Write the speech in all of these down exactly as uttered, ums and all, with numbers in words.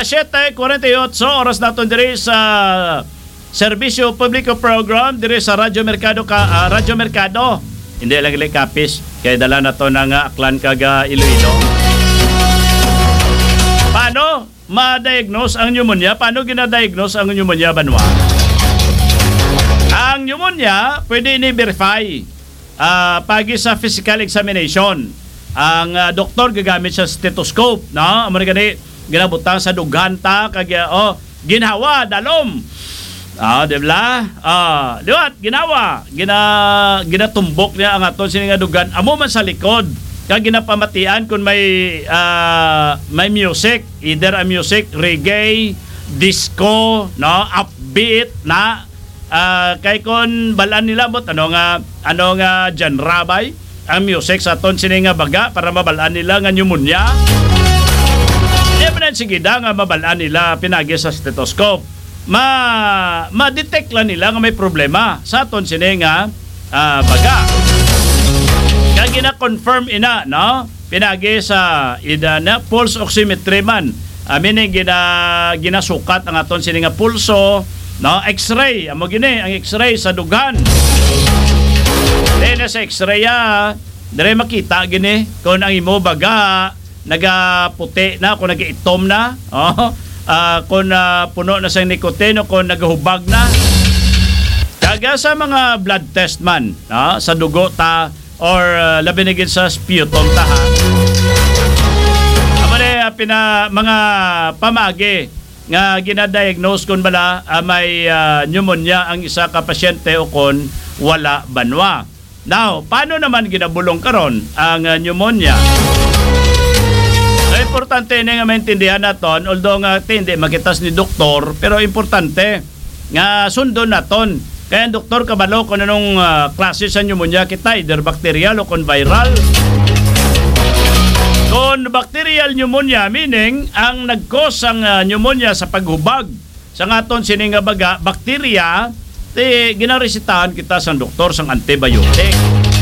Siete cuarenta y ocho, oras naton diri sa Serbisyo Publiko Program, diri sa Radyo Merkado ka, ah, Radyo Merkado. Hindi lang gali kapis, kay dala na to ng, ah, Aklan kag, ah, Iloilo. Paano ma-diagnose ang pneumonia? Paano gina-diagnose ang pneumonia, Banwa? Ang pneumonia, pwede ni verify, ah, pagi sa physical examination. Ang, ah, doktor gagamit sa stethoscope, no? Amo ni gani, ginabutang sa dughan ta, kag, ah, oh, ginhawa, dalom. Ah, di ba? Ah, liwat, ginhawa. Gina-, ginatumbok niya ang aton sini nga dughan. Amo man sa likod. Kag ginapamatian kung may, ah, may music, either a music, reggae, disco, no, upbeat, na, ah, kay kon balaan nila, but ano nga, ano nga genre bay ang music sa aton sini nga baga para mabalaan nila nga pneumonia? Di man ang sige da nga mabalaan nila pinagi sa stethoscope. Ma-, ma-detect lang nila nga may problema sa aton sini nga, ah, baga. Kag gina-confirm ina, no? Pinagi sa ida na pulse oximetry man. Ah, meaning gina-, ginasukat ang aton sini nga pulso, no? X-ray, amo gini ang X-ray sa dughan. Then sa X-ray, ah, dire makita gini kung ang imo baga nagaputi na, kung nagaitom na, oh, ah, kung, ah, puno na sang nicotine o kung nagahubag na. Kag sa mga blood test man, ah, sa dugo ta, or, ah, labi na gid sa sputum ta, ha. Amo ni, ah, pina-, mga pamaagi nga ginadiagnose kon bala, ah, may, ah, pneumonia ang isa ka pasyente o kon wala banwa. Now, paano naman ginabulong karon ang, ah, pneumonia? So, importante ini nga maintindihan naton, although nga ti-, hindi makitas ni doktor, pero importante nga sundon naton. Kay ang doktor kabalo kung anong, ah, klase sa pneumonia kita, either bacterial o kung viral. Kung bacterial pneumonia, meaning ang nag-cause sang, ah, pneumonia sa paghubag sa aton sini nga baga, bakterya, ti ginaresetahan kita sang doktor sang antibiotic.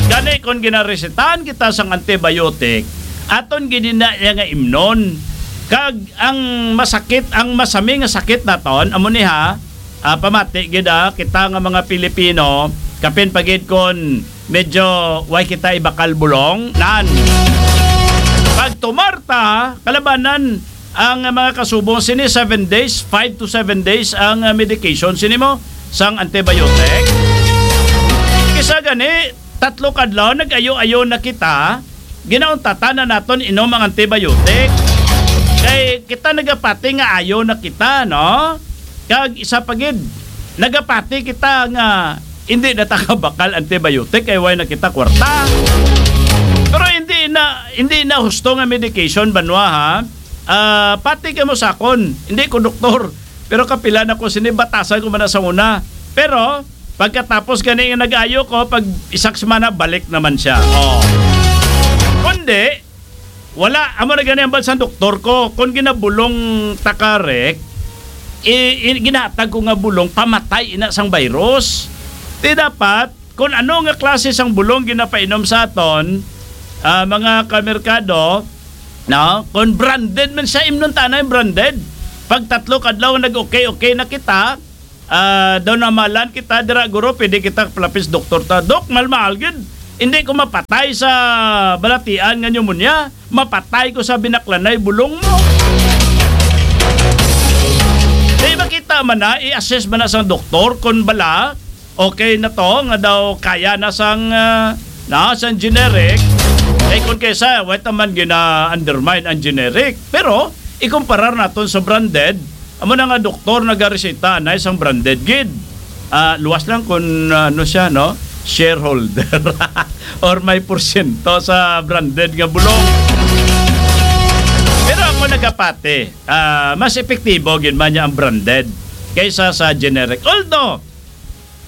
Gani, kung ginaresetahan kita sang antibiotic, aton gid ina iya nga imnon. Kag ang masakit, ang masami nga sakit naton, amo ni ha, ah, pamati gid, ah, kita nga mga Pilipino, kapin pa gid kon medyo way kita ibakal bulong, nan. Pag tumar ta, kalabanan ang mga kasubong sini, seven days, five to seven days ang, ah, medication sini mo sang antibiotic. Kisa gani, tatlo ka adlaw, nag-ayo-ayo na kita, ginauntatan na naton inom ang antibiotic. Kay kita nagapati nga ayo na kita, no? Kag isa pa gid, nagapati kita nga hindi na ta kabakal antibiotic kay way na kita kwarta. Pero hindi na, hindi na husto nga medication, banwa, ha? Ah, pati kamo sa akon, hindi ko doktor, pero kapila na ko sini, batasan ko man na sa una. Pero pagkatapos gani nga nag-ayo ko, pag isa ka semana, balik naman siya. Oh. Kundi, wala, amo na gani ang bal sang doktor ko. Kung ginabulong ta ka, Rick, i-, i-, ginatag ko nga bulong, pamatay ina sang virus. Di dapat, kung ano nga klase sang bulong ginapainom sa aton, ah, mga kamerkado, no? Kung branded man siya, imnon ta na yung branded. Pag tatlo kadlaw nag-okay-okay na kita, ah, daw namalan kita dira, guro, pwede kita palapis doktor ta. Dok, malmahal gid. Hindi ko mapatay sa balatian nga pneumonia. Mapatay ko sa binaklanay bulong mo. Di ba kita man na, i-assess man na sang doktor kung bala, okay na to, nga daw kaya na sang, ah, na, sang generic. Eh, kung kaysa, wait naman gina-undermine ang generic. Pero, ikumparar naton sa branded, amo na nga doktor nagareseta na isang branded gid. Ah, luwas lang kung, ah, ano siya, no? Shareholder. Or may porsyento sa branded nga bulong. Pero ako nagapati, ah, mas epektibo gid man niya ang branded kaysa sa generic. Although,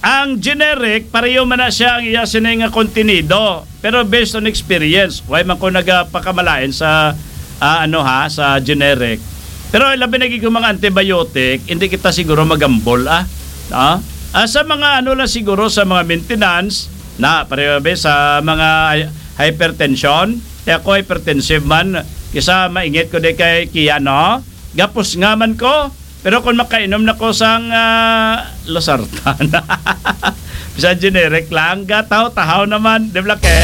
ang generic, pareho man na siya ang iya sini nga kontenido. Pero based on experience, why man ko nagapakamalain sa, ah, ano ha, sa generic. Pero labi na gid kung mga antibiotic, hindi kita siguro magambol, ah. No? Ah, sa mga ano lang siguro, sa mga maintenance, na pareho ba sa mga hy-, hypertension, kaya ako hypertensive man, kisa maingit ko di kay Kia, no? Gapos nga man ko, pero kung makainom na ko sang, ah, losartan, bisan generic lang, gataw-tahaw naman, di ba, ke?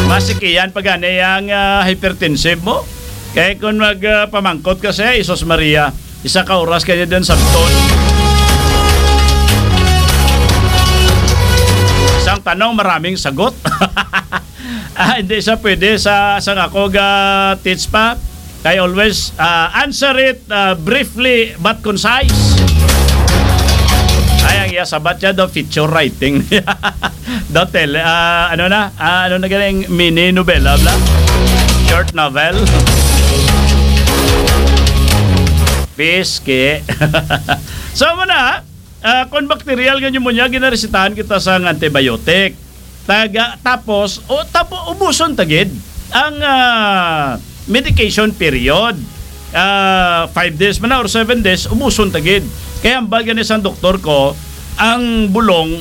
Masikiyan pa gani ang, ah, hypertensive mo. Kaya kung mag, ah, pamangkot ka siya, Isos Maria, isa ka oras kaya din sabton. Isang tanong, maraming sagot. Ah, hindi siya pwede sa, sa ako ga teach pa. Kay always, ah, answer it, ah, briefly but concise. Ay, ang iya sabat siya daw feature writing. Daw tele, ah, ano na? Ah, ano na galing? Mini novela, bla? Short novel? Piski. So, mo na, ah, kung bacterial nga pneumonia, ginaresetahan kita sa antibiotic. Taga, tapos, o, tapo, ubuson tagid ang, ah, medication period. Ah, five days man na or seven days, ubuson tagid. Kaya ang bagay ni sang doktor ko, ang bulong,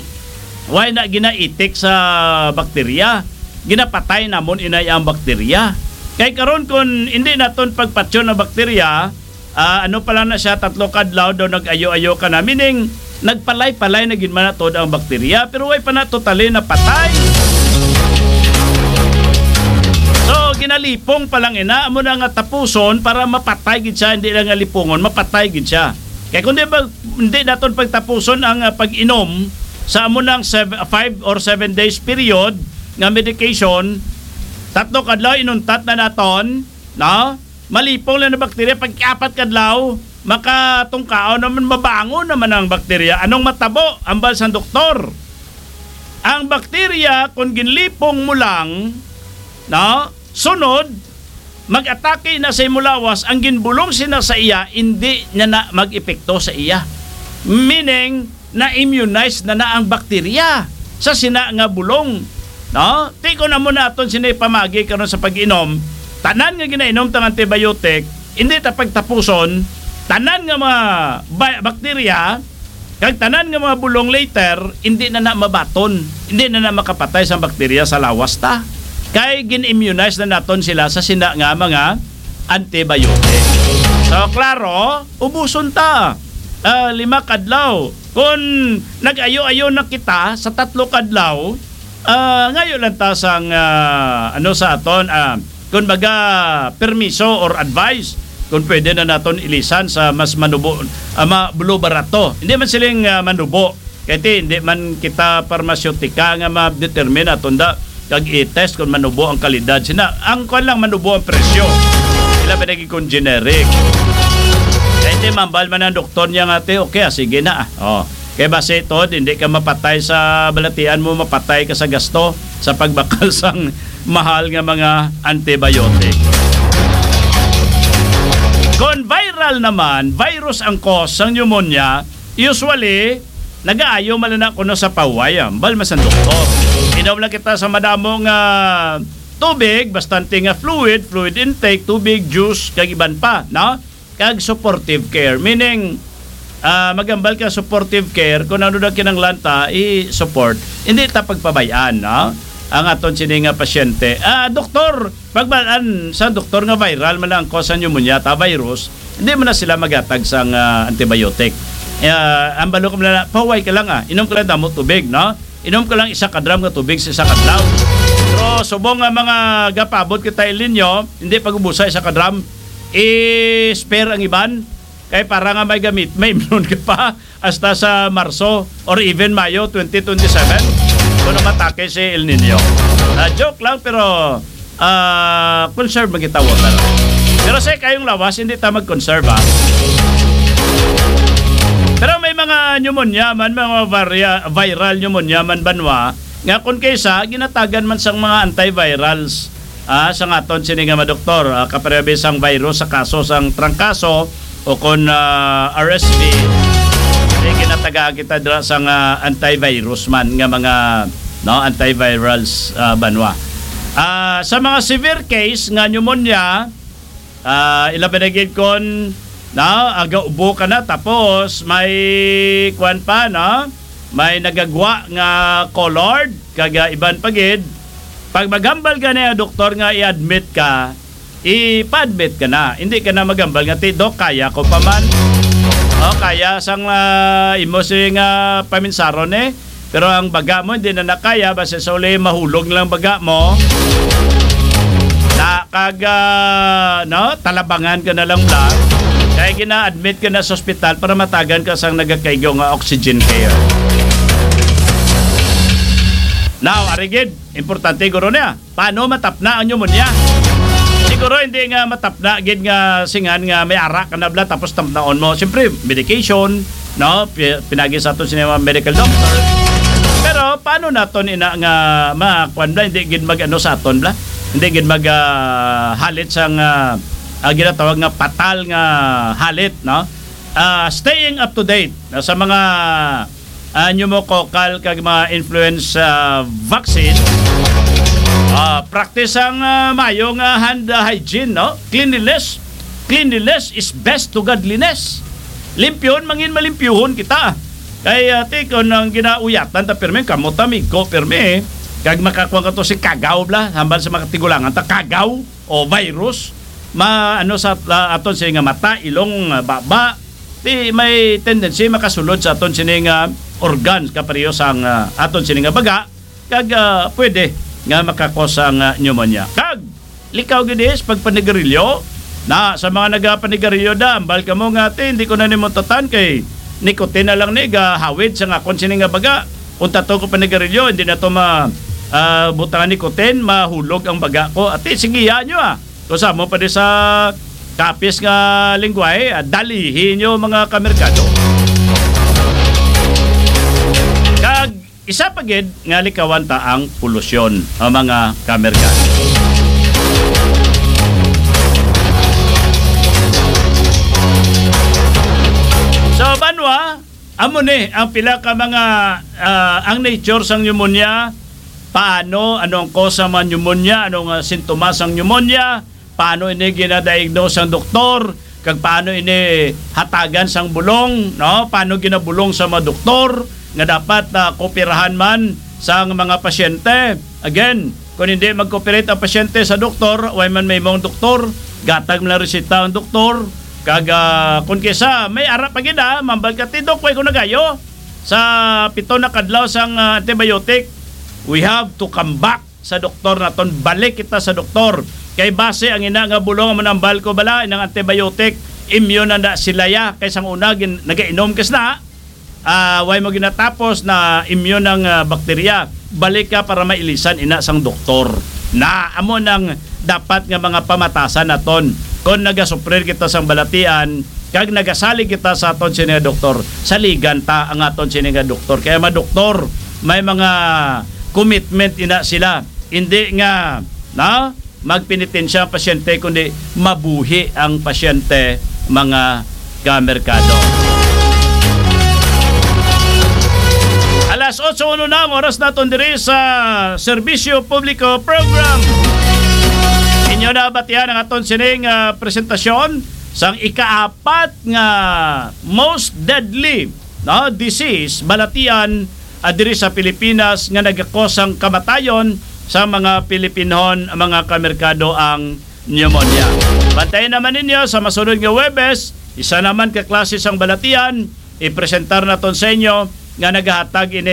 why na ginaitik sa bakterya? Ginapatay namon inay ang bakterya. Kay karon, kung hindi naton pagpatyon ang bakterya, ah, ano pa lang na siya, tatlo ka adlaw daw nag-ayo-ayo ka na. Meaning, nagpalay-palay na gid man na tuod ang bakterya, pero way pa na totally napatay. So, ginalipong pa lang ina, amo na nga tapuson para mapatay gid siya, hindi lang nga lipungon, mapatay gid siya. Kaya kung di ba, hindi naton pagtapuson ang, ah, pag-inom sa amo nang sev-, five or seven days period nga medication, tatlo ka adlaw inuntat na naton, no? Malipong lang na bakterya, pag apat ka adlaw, makatungkaon naman, mabangon naman ang bakterya. Anong matabo? Ambal sang doktor, ang bakterya, kung ginlipong mo lang, no, sunod, mag-atake na sa imo lawas, ang ginbulong sina sa iya, hindi niya na mag-epekto sa iya. Meaning, na-immunize na na ang bakterya sa sina nga bulong, no? Ti kon amo na aton sini pamagi karon sa pag-inom, tanan nga ginainom tang antibiotic, hindi ta pagtapuson, tanan nga mga ba-, bakterya, kag tanan nga mga bulong later, hindi na na mabaton, hindi na na makapatay sa bakterya sa lawas ta. Kay gin-immunize na naton sila sa sina nga mga antibiotic. So, klaro, ubuson ta. Ah, lima kadlaw. Kung nag-ayo-ayo na kita sa tatlo kadlaw, ah, ngayo lang ta sang, ah, ano sa aton, ah, kung baga, permiso or advice, kung pwede na naton ilisan sa mas manubo, ah, ma-, barato. Hindi man siling, ah, manubo. Kay ti, hindi man kita parmasyotika nga ma-determine aton da kag i-test kung manubo ang kalidad. Sina, ang kwan lang manubo ang presyo. Ila ba naging kung generic? Kay ti, mambal man ang doktor niya nga, "Te, okay, ah, sige na, ah." Oh. Kay basi, Tod, hindi ka mapatay sa balatian mo, mapatay ka sa gasto sa pagbakal sang mahal nga mga antibiotic. Kon viral naman, virus ang cause sang pneumonia, usually, nagaayo man na kuno sa pahuway, ah. Ambal man sang doktor. Inom lang kita sa madamo nga tubig, bastante nga fluid, fluid intake, tubig, juice, kag iban pa, no? Kag supportive care. Meaning, ah, magambal ka supportive care, kung ano na kinanglan ta, i-support. Hindi ta pagpabay-an, no? Ang aton sini nga pasyente. Ah, doktor, pagbalaan sa doktor nga viral man lang ang cause sa pneumonia, ta virus, hindi man na sila magatag sang, ah, antibiotic. Ah, ang balo ko man na, pahuway ka lang, ah. Inom ka lang damo tubig, no? Inom ka lang isa ka drum nga tubig sa isa ka adlaw. Pero subong nga mga gapaabot kita El Niño, hindi pag-ubusa isa ka drum, i-spare ang iban. Kay para nga may gamit, may imnon ka pa hasta sa Marso or even Mayo twenty twenty-seven, kung matake si El Niño. Ah, joke lang, pero, ah, conserve man kita water. Pero sa kayong lawas, hindi ta mag-conserve, ah. Pero may mga pneumonia man, mga varia-, viral pneumonia man, banwa, nga kung kaysa, ginatagan man sang mga antivirals, ah, sa aton sini nga madoktor, ah, kapareho sang virus sa kaso sang trangkaso o kon, ah, R S V, di ginatagaan kita dira sang, ah, antivirus man nga mga, no, antivirals, ah, banwa. Ah, sa mga severe case nga pneumonia, ah, ila pa na gid kon, no, aga ubo ka na, tapos may kuwan pa, no? May nagagwa nga colored, kag, ah, iban pa gid. Pag maghambal ka na doktor nga i-admit ka, ipa-admit ka na. Hindi ka na maghambal nga, "Ti, Doc, kaya ko pa man." O, kaya sang, ah, imo sing, ah, paminsaron, eh. Pero ang baga mo, hindi na nakaya, basta sa uli, mahulog lang baga mo. Na kag, ah, no, talabangan ka na lang bla. Kaya gina-admit ka na sa ospital para matagan ka sang nagakaigo nga oxygen care. Now, arigid, importante guro niya. Paano matapna ang pneumonia? Siguro hindi nga matapna gid nga singan nga may ara ka na bla tapos tapnaon mo. Siyempre, medication, no? Pi-, pinagi sa aton sini mga medical doctor. Pero paano naton ina nga makuan bla, hindi gid mag-ano sa aton bla? Hindi gid mag, ah, halit sang, ah, ah, ginatawag nga patal nga halit, no? Ah, staying up to date, no, sa mga, ah, pneumococcal kag mga influenza vaccine, ah, practice ang, ah, mayo nga hand, ah, hygiene, no? Cleanliness. Cleanliness is best to godliness. Limpyuhon mangin malimpyuhon kita. Kay, ah, ti, kung ang ginauyatan ta pirmi, kamot ta, migo pirmi, eh. Kag makakuha ka to si kagaw, bla, hambal sa mga tigulangan ta, kagaw o virus, ma-, ano sa, ah, aton sini nga mata, ilong, ah, baba, ti may tendency makasulod sa aton sini nga organs, kapareho sang, ah, aton sini nga baga, kag, ah, pwede nga makakos ang, ah, pneumonia. Kag likaw gid is pagpanigarilyo. Na, sa mga nagapanigarilyo da, ambal kamo nga, "Ti, hindi ko na nimo tatan kay nicotine na lang ni gahawid sa akon sini nga baga. Kung tato ko panigarilyo, hindi na to ma-, ah, butang ang nicotine, mahulog ang baga ko." Ati, sige, yan nyo, ah. Kung sa mo pa di sa kapis nga lingwahe, ah, dalihi nyo, mga kamerkado. Kag isa pa gid nga likawan ta ang polusyon, ah, mga kamerkado. So, banwa, amo ni ang pila ka mga, ah, ang nature sang pneumonia, paano, ano ang cause sa mga pneumonia, ano nga sintomas sang pneumonia, paano ini ginadiagnose sang doktor, kag paano ini hatagan sang bulong, no? Paano ginabulong sa mga doktor nga dapat, ah, kooperahan man sang mga pasyente? Again, kung hindi mag-cooperate ang pasyente sa doktor, way man may mong doktor, gatag man lang resita ang doktor, kag, ah, kung kisa, may ara pa gid, ah, mambal ka, "Ti, Dok, way ko nagayo sa pito na kadlaw sang, ah, antibiotic." We have to come back sa doktor naton, balik kita sa doktor. Kay base ang ina nga bulong amo nang bal ko bala, inang antibiotic, immune na, na sila ya. Kay sang una, gin-, nagainom ka sina, ah, way mo ginatapos na immune ang, ah, bakterya. Balik ka para mailisan ina sang doktor. Na, amo nang dapat nga mga pamatasan naton. Kung nagasuprir kita sang balatian, kag nagasalig kita sa aton sini nga doktor, saligan ta ang aton sini nga doktor. Kaya mga doktor, may mga commitment ina sila. Hindi nga, na, magpenitensya ang pasyente, kundi mabuhi ang pasyente, mga kamerkado. Alas otso uno na ang oras naton diri sa Serbisyo Publiko Program. Inyo na batian ang aton sining, ah, presentasyon sang ikaapat nga most deadly, no, disease, balatian, ah, diri sa Pilipinas nga nagakos sang kamatayon sa mga Pilipinhon, mga kamerkado, ang pneumonia. Bantayan naman ninyo sa masunod nga Huwebes, isa naman ka klase sang balatian, ipresentar naton sa inyo nga nagahatag ini